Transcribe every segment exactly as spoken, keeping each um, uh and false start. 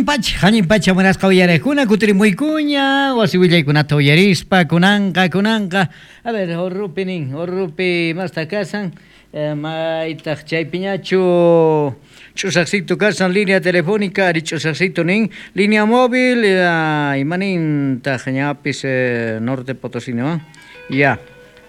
Allin pacha, allin pacha munasqa uyariqkuna kutirimuykuña, wasi willaykunata uyarispa, kunanqa, kunanqa. A ver, Orrupi nin, Orrupi masta kasan, eh, maytaq chaypiñachu ch'usaqcito kasan, línea telefónica, ari ch'usaqcito nin, línea móvil, eh, imanintaq ñapis eh, Norte Potosí, ¿no? Ya,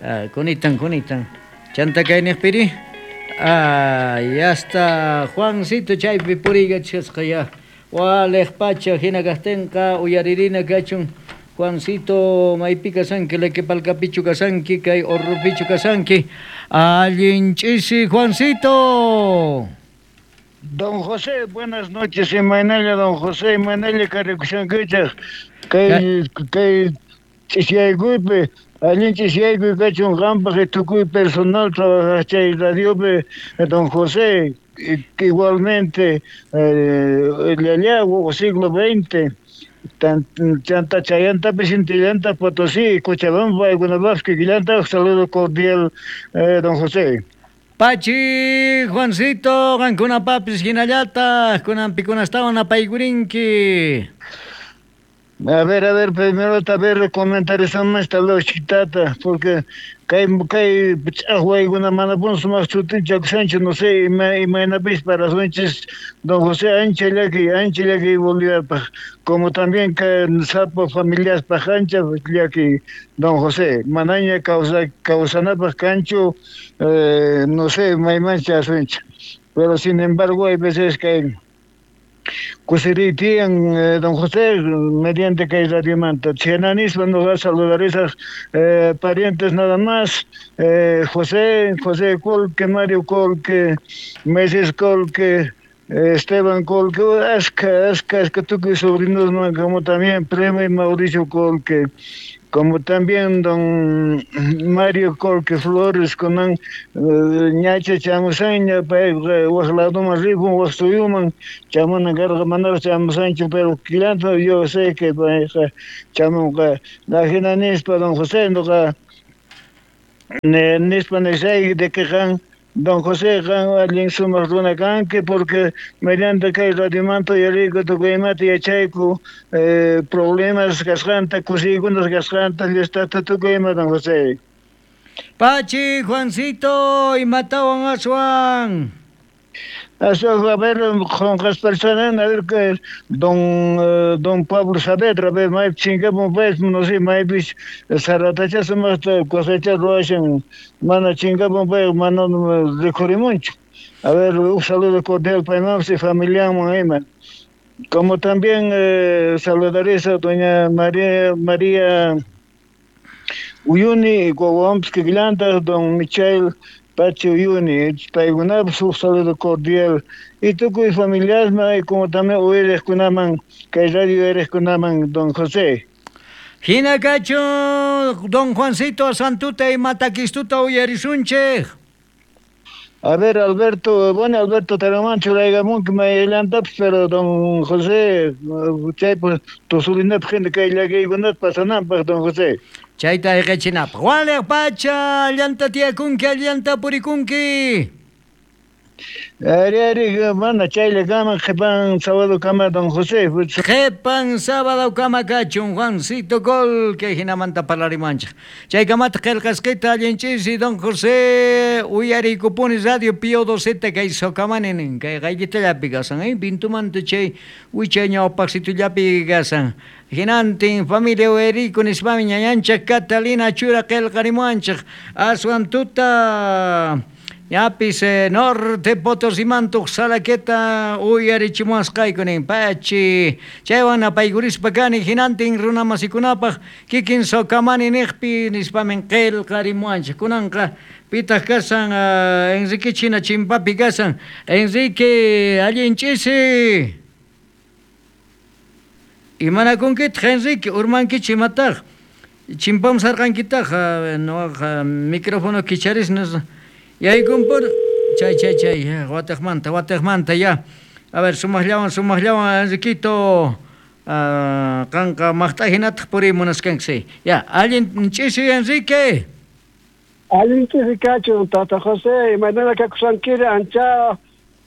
eh, kunitan, kunitan. Chanta kayniqpiri? Ah, ya está Juancito chaypi puriykachasqa ya. Waliq pacha hina kaqtinqa uyaririna kachun Juancito maypi kasanki Lequepalcapichu kasanki kay Orrupichu kasanki allin ch'isi Juancito. Don José, buenas noches, imaynalla don José, imaynalla karikushankichaq kay kay ch'isyaykuypi allin ch'isiyaykuy kachun qampaq tukuy personal trabajaq chay radiopi don José, igualmente eh, llalla siglo veinte chanta chayantapis intillanta Potosí, Cochabamba, paykunapaq kikillantaq saludo cordial eh, don José. Pachi, Juancito, qankunapapis hinallataq kunanpikunastawan apaykurinki. A ver, a ver, primero a ver comentarizamos esta lógica, porque kay kay ch'aqwaykuna manapun sumaq sutinchakushanchu, no sé, imaynapis para sunchis don José ancha llaki, ancha llaki Boliviapaq, como también kay sapa familiaspaq ancha llaki don José, manaña causa causanapaq kanchu, eh, no sé, maymancha asuncha, pero sin embargo hay veces que kusiriytiyan eh, don José mediante kay radiomanta chhaynanispa noqa saludar esas eh, parientes nada más, eh, José, José Colque, Mario Colque, Meses Colque, Esteban Colque, aska, aska, aska tukuy sobrinos como también primo y Mauricio Colque, como también don Mario Colque Flores, kunan ñacha chamusaña, payqa wak ladoman ripun, wak suyuman chamunan karqa manaraq chamusanchu, pero killanta yo sé que payqa chamunqa. Ajina nispa don José noqa nispa nisayki de que qan don José qan allin sumaq runa kanki, porque mediante kay radiomanta uyariyku tukuy imata yachayku eh, problemas kasqanta, kusiykunas kasqanta, llaqtata tukuy ima don José. Pachi, Juancito, imatawan aswan. Aswan, a ver, qunqasparsana, a ver que don eh, don Pablo Saavedra, a ver, maypi chinkapun paypis, no sé, maypis saratacha sumaqta cosecha ruwashan, mana chinkapun pay, mana rikhurimunchu. A ver, un saludo cordial paymanpis y familianman ima. Como también eh, saludaré a doña María María Uyuni, wawanpis kikillantaq don Michael Pachi Uyuni, paykunapas huk saludo cordial y tukuy familiasman y como también uyariqkunaman kay radio uyariqkunaman don José. Hina kachun don Juancito Santuta y Mataquistuta uyarisunchik. A ver, Alberto, bueno, Alberto Taramán churaykamunki maylantapis, pero don José, chaypa tusurinapaq hina kay llakiykunata pasananpaq don José. Chayta ayqichinapaq. Waliq pacha, allanta tiyakunki, allanta purikunki. Ari, ari, mana chaylla kaman qhipan sábado kama don José. Qhipan sábado kama kachun Juancito Colque hinamanta parlarimanchik. Chaykamata qillqasqita allin ch'isi don José uyariykupuni radio Pío doceta kay Sokamani nin kay qayllitallapi kasan, eh, Pintumanta chay wichay ñawpaqsitullapi kasan. Hinantin familia uyariyku nispami ñañanchik Catalina Chura qillqarimuwanchik aswan tuta ñapis eh, Norte Potosimantuq salaketa uyarichimuwasqayku nin pachi chaywan apaykurispa kani hinantin runamasikunapaq kikin Sokamani niqpi nispamin qillqarimuwanchik kunanqa pitaq kasan uh, Enrique China chimpapi kasan Enrique allin ch'isi imanakunkitaq Enrique urmankichik imataq chimpam sarqankitaq uh, nuqaqa micrófono kicharis yaykunpur chay chay chay wataqmanta wataqmanta ya a ver sumaqllawan sumaqllawan Enriquito uh, qanqa maqt'a hinataq puriy munasqanki ya allin ch'isi Enrique. Allin ch'isi kachun tata José, imaynana kakusankiri ancha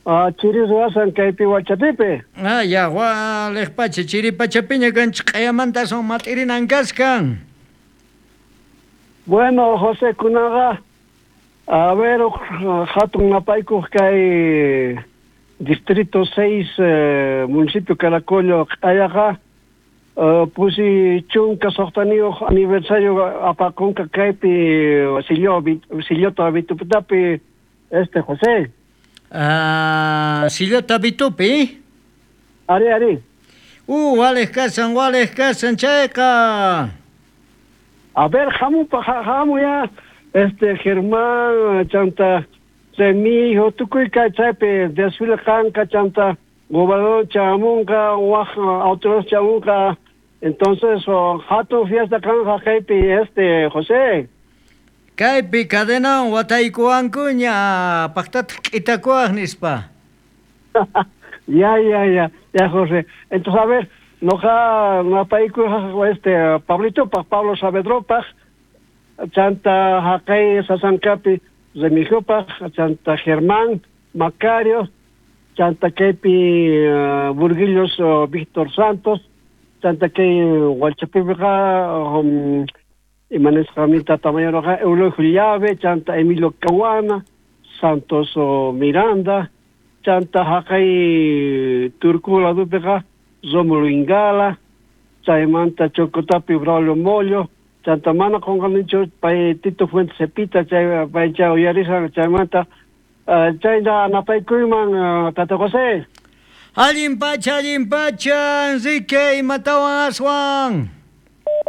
Ah, chiri ruwasan kaypi Huachapipi. Ah, ya, waliq pacha, chiri pachapiña kanchik q'ayamanta aswan mat'irinan kaskan. Bueno, José, kunaqa a ver, hatun napaykuq kay distrito seis, eh, municipio Caracollo q'ayaqa uh, pusi chunka suqtaniyuq aniversario apakunqa kaypi Sillo, Sillota Vitupitapi, este José. Ah, Sillota Vitupi. Ari, ari. Uh, waliq kasan, waliq kasan chayqa. A ver, hamu, hamu ya, este Germán, chanta Remijo, tukuy kay chaypi desfile kanqa, chanta gobernador chamunqa, waj autoridad chamunqa, entonces oh, hatun fiesta kanja kaypi este José. Kaypi cadenawan wataykuwankuña, paqtataq k'itakuwaq nispa. Ya, ya, ya, ya, José. Entonces, a ver, noqa napayku este Pablitopaq, Pablo Saavedropaq, chanta haqay Sasankapi Remigiopaq, chanta Germán Macario, chanta kaypi uh, Burguillos uh, Víctor Santos, chanta kay Hualchapipiqa um, imanisqa tata mayorqa Eulogio Llave, chanta Emilio Caguana, Santos uh, Miranda, chanta haqay Turku ladupiqa Rómulo Ingala, chaymanta Chocotapi Braulio Mollo, chanta mana qunqanichu pay Tito Fuentes Cepita, chay pay chay uyarisan chaymanta uh, chayna napaykuyman uh, Tata José. Allin pacha, allin pacha, Enrique, imatawan aswan.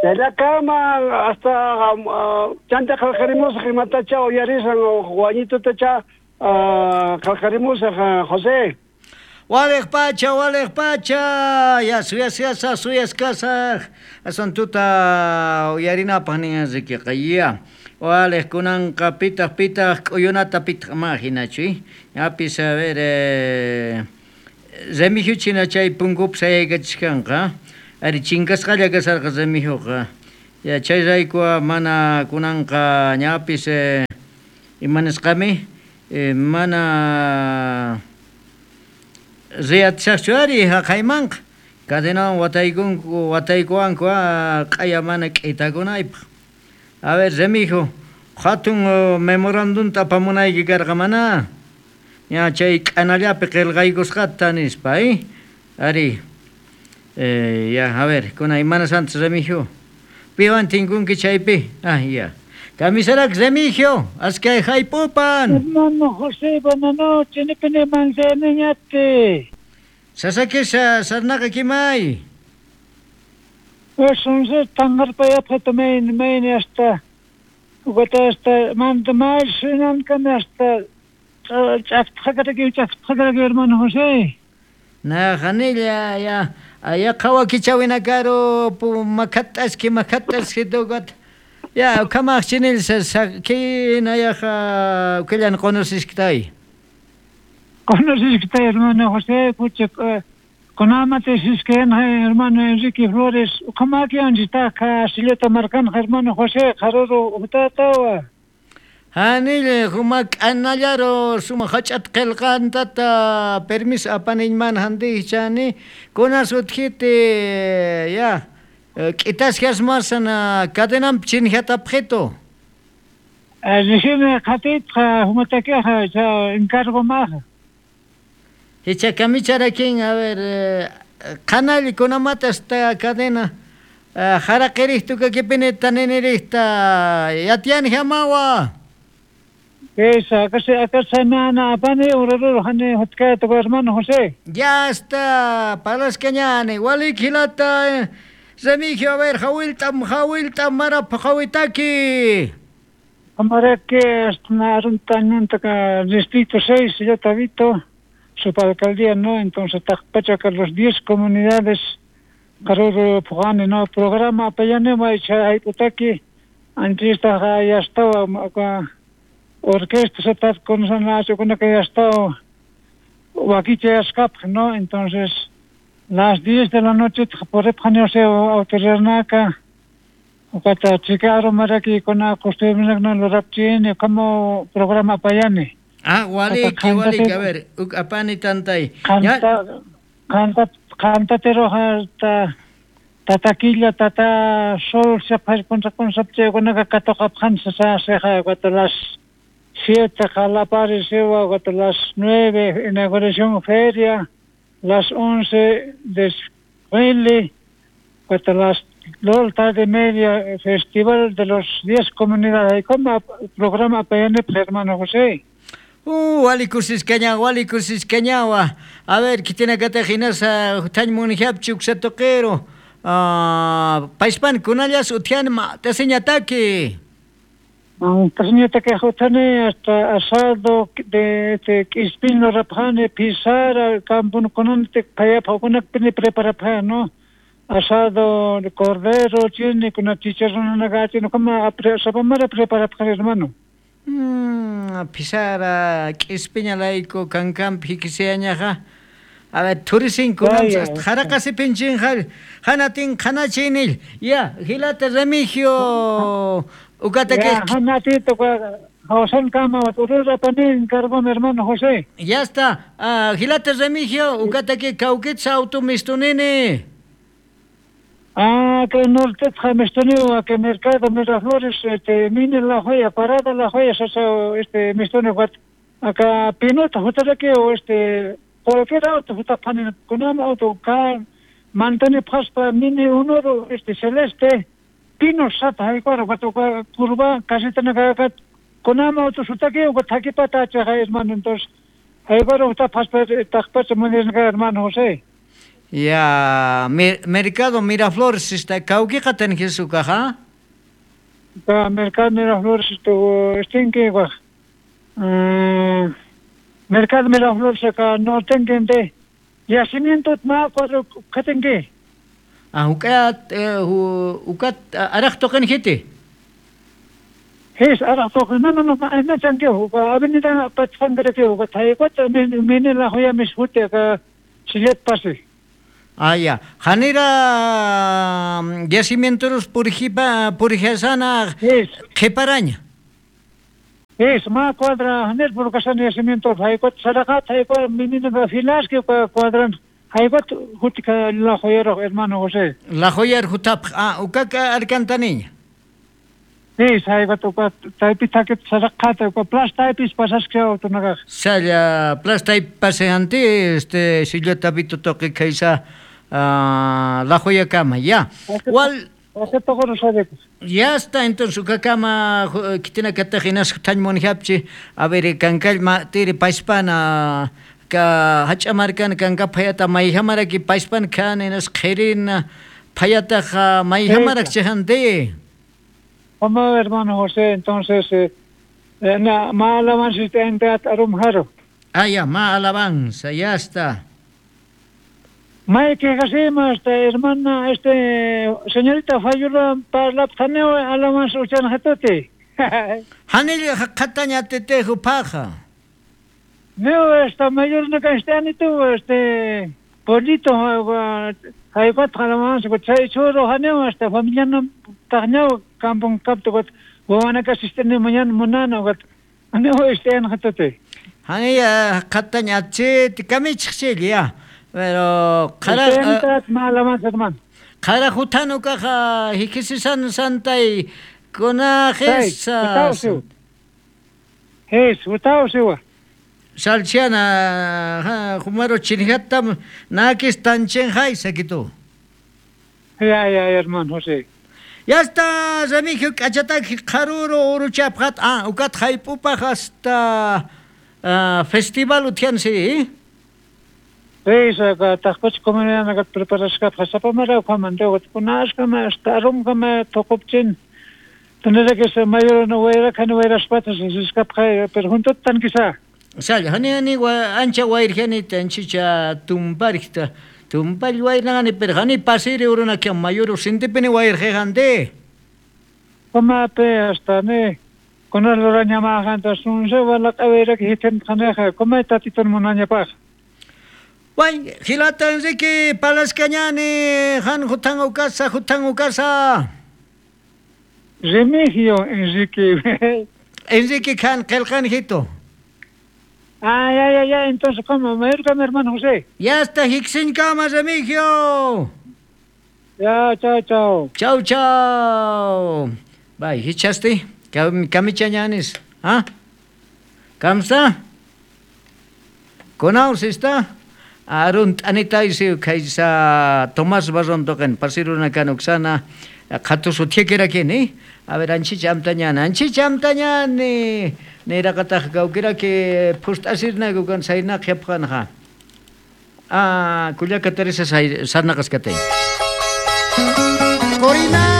Chaylakama hasta uh, chanta qillqarimusaq imatacha uyarisan wañitutacha uh, qillqarimusaq uh, José. Waliq pacha, waliq pacha, ya suyas yasa suyas kasaq. Aswan tuta uyarinapaq nin Enriqueqa, ya. Waliq kunanqa pitaq pitaq k'uyunata pitaq ma hinachu, ñapis a ver eh, Remigio china chay punkupi sayaykachiskanqa. Ari chinkasqalla kasarqa Remigioqa. Ya chay rayku mana kunanqa ñapis eh, imanisqami eh, mana riyatisaqchu ari haqaymanqa. Cadenawan wataykunku wataykuwanku q'aya mana k'itakunaypaq. A ver, Remigio, hatun uh, memorandumta apamunayki karqa mana. Ya chay k'anallapi qillqaykusqata nispa, eh? Ari. Eh, ya, a ver, kuna imanas antes Remigio. Piwan tinkunki chaypi. Ah, ya. Kamisarak Remigio, askay haypupan. Hermano José, buenas noches, nipini manzaniñate. Sasakisha sarnaqa kimay. Entonces, tangarpayapqa main main hasta ugata hasta manda mal sunan hasta ch'aqtaqaraki ch'aqtaqaraki hermano José. Na hanilla ya ya qhawakichawinakaru pu makhat'aski makhat'aski tukat. Ya kamaq chinil sa kina yaqa ukillan conocisktay. Conocisktay hermano José, pucha kunamate sisken hermano Enrique Flores, ukamakianchitaq sillota markan hermano José, qaruru uqtatawa. Hanille humak anallaro suma hach'at qillqantata permiso apaniñman handichani kuna sutjiti ya k'itasqas masana cadenampi chinjatapqito. Recién qatitqa humatakiqa cha encargo maja. Hicha kamicharakin a ver qanalli kunamata esta cadena haraqirihtu kakipini taninirihta yatiani hamawa. Esa, acá acá nana apani urururu hani hutkayta hermano José. Ya está, palascañani, walikilata Remigio, a ver, hawiltam, hawiltam, marap, hawitaki. Amarake, hasta distrito seis, ya tabito, subalcaldía, ¿no? Entonces, Tacpacha, los diez comunidades, Caruro, Pujane, ¿no? Programa, payanema, hay putaki, antes ya estaba, orquesta, se está con con que ya estaba, Huaquiche, ¿no? Entonces, las diez de la noche, por autoridad, Ukata chikaro maraki kona costumbre no lo rapchini como programa payani. Ah, waliki, waliki, a ver, apani tantay. Qanta, qanta, qantatero hasta tataquilla, tata sol, se contra concepción, katoqapqansa seja, cuando las siete jalapari sewa, cuando las nueve inauguración feria, las once desfile, cuando las dos tarde media festival de los diez comunidades. ¿Cómo programa P N P, hermano José? Uh, wali kusiscaña, wali kusiscañawa. A ver, que tiene que te jinasa, tañ munijapchi uxatoquero. Ah, paispan kunallas utian ma taseñataki. Taseñataki jutane hasta asado de de ispino rapjane pisara campun kunante payapa kunakpini preparapja, ¿no? Asado de cordero, chini, con chicharrón una gacha, no como sapamara preparapja, hermano. Mm, pisara k'ispiña layku kankanpi hikisiañaqa. A ver, turisin kunam jaraqasi pinchinjal hanatin qanachinil. Ya, hilata Remigio ukataki. Ya, hanatito José kama urura panin encargó mi hermano José. Ya está. Uh, hilata Remigio ukataki kawkitsa auto mistunini. Ah, que norte mistunio que mercado Miraflores este mine la joya parada la joya este mistunio acá pinota jutara o este cualquier auto juta panin kunam auto ka mantane paspa mine unoro este celeste pino sapa hay cuaro cuatro curva casi tena kunam auto sutake o takipata chaja hermano entonces hay cuaro juta paspa takpacha munirga hermano José. Ya, mercado Miraflores está kawkiqa tan Jesucaja. Ka mercado Miraflores esto estinque guaj. Mercado Miraflores acá no tengo yacimiento ma cuatro katenque. Ah, ukat ukat araq toqen jete. Es araq toqen no no no no chanque avenida Patfangre que tayqot mene la joya mis jute acá sillet pase. Ah, ya. Janira yacimientos purijipa purijasana qhiparaña. Es ma cuadra hanir purkasan yacimiento haykot saraqa haykot minina filas que cuadran haykot hutika la joyero hermano José. La joyer jutap ah ukaka arcantaniña. Es haykot uka taypi takit saraqa uka plas taypis pasasqa utunaqa. Salla plas taypi paseanti este sillota vito toqi kaysa Uh, la joya kama, ya. Wal ya está, entonces ukakama kitina katajinas tañmonjapchi a ver kankallma tiri paispana ka hach'amarkan kanka phayata mayhamaraki paispan kan inas qhirina phayataqa mayhamarak chejante. Como hermano José, entonces eh, na ma alabanza este arumjaro. Ah, ya, ma alabanza, ya está. May que gasima esta hermana este señorita Fayula parlaptaneo alabanza uchan hatote. Hanil qataña tetejo paja. No esta mayor no castanito este polito haypat alabanza chay choro haneo esta familia no tañao kampong kapto got wana kasistene mañana munana got aneo este en hatote. Hanil qataña che kamichxil ya. Pero qara qara jutano kaja hikisisan santay kunajisa es utawsiwa salchiana jumaro chinjatam nakis tanchenjay sakitu. Ya ya hermano José. Ya está Remigio k'achataki qharuro uruchapqat ah ukat haypupaq hasta uh, festival utiansi. Sí, taqpach comunidad nagat preparasqa pasapamara qamanta kunasqa hasta arumqama toqupchin tendrá que ser mayor no wayra kan wayra spatas escapqa pero junto tan quizá. Sal hani hani ancha wayrjani tanchicha tumparikta tumpal wayrnani pero hani pasiri uruna que mayor sintipini wayrjante. Como pe hasta ne con el raña majanta sunse wala qawira que hiten khaneja como tatitun munaña paj. Way, hilata Enrique Palascañani, han jutan ukasa, jutan ukasa. Remigio Enrique. Enrique kan qelqan hito. Ah, ya, ya, ya. Entonces, ¿cómo? Me mi hermano José. Ya está, Hixinkama, Remigio. Ya, chao, chao. Chau, chau. Bye, hichasti. Kamichañanis. ¿Ah? ¿Kamsta? Kunaus está? Arun t'anitaysi kaysa Tomás Barrontoqen pasiruna kan uksana qhatusu thikirakini. A ver, anchicha amtañani, anchicha amtañani. Niraqataq kawkiraki phust'asirnaku kan saynaq yapqanqa. Ah, kullaka Teresa sarnaqaskatay. Corina!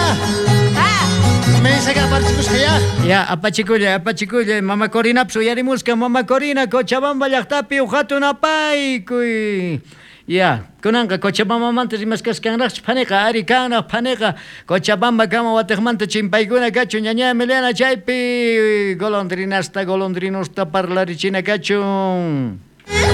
Mensaje apachikushqa ya. Ya, apachikullay, apachikullay, mama Corinapas uyarimusqa, mama Corina, Cochabamba llaqtapi uqhatun apaykuy. Ya, kunanqa Cochabambamanta rimasqaskanraqchu phaniqa, ari kanraq phaniqa, Cochabamba kama watiqmanta chimpaykuna kachun, ñaña Emiliana chaypi golondrinasta, golondrinosta parlarichina kachun.